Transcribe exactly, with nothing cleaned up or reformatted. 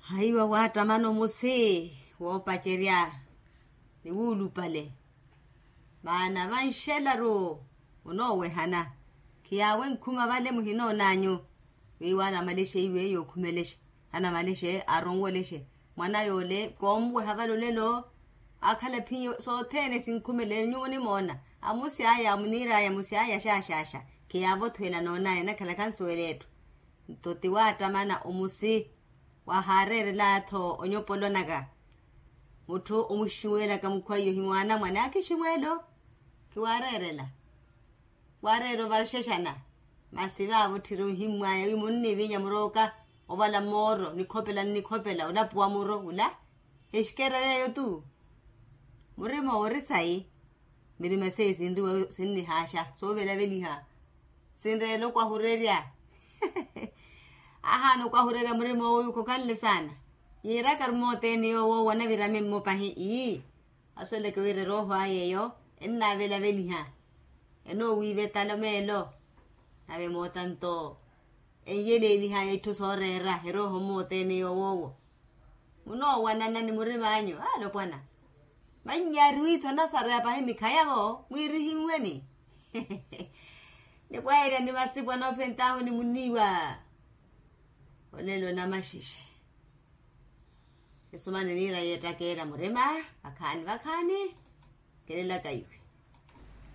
Haiwa waattamana omusi woopacerya ni wuulupale. Maana vanxelaru onoowehana khiyaawe nkhuma vale muhinoonanyu. Wiiwa anamalexe iwe yookhumelexe, anamalexe aronwelexe mwana yoole koomuweha vale olelo. Aakhala ephiyo sothene sinkhumele nyuwo nimoona. Amusi aya amuniir'aya amusi aya xaaxaaxa. Khiyaavothwela noonaya nakhalaka nsuwela etthu. Nto ti waattamana omusi wahaareerela-tho onyopolonaka. Mutthu omuxiwelaka mukhwaiyo hi mwaana mwane akhixiwelo. Khiwaareerela waareera ovarxexana. Masi vaavo tthiri ohimmwaya wi munnivinya murooka ovala mooro nikhopela nnikhopela olapuwa muro ula. Exikera yeeyo tu. Murima ori tsayi. Mirima seiyo sinriwa sinnihaaxa soovelaveliha. Sinreela okwahurerya. Ahaana okwahurerya murima oyu khokhanle saana. Yiirakaru moothene yoowo wanavirame mmo pahi ii. Asoleke wira erooho aya eyo ennaavelaveliha. Enoowiiva etalo meelo. Nave mootanto enyeleeliha itthu sooreera erooho mmoothene yowoowo. Munoowanana ni murim'anyu alopwana. Mannyaari wiitho nasareya pahi mikhayavo mwiirihimmweni. Nipwaherya ni masipu anoophentahu ni muniiwa. Olelo namaxixe. Esumani niira yeettakeera murima vakhaani vakhaani. Kelelaka iwe.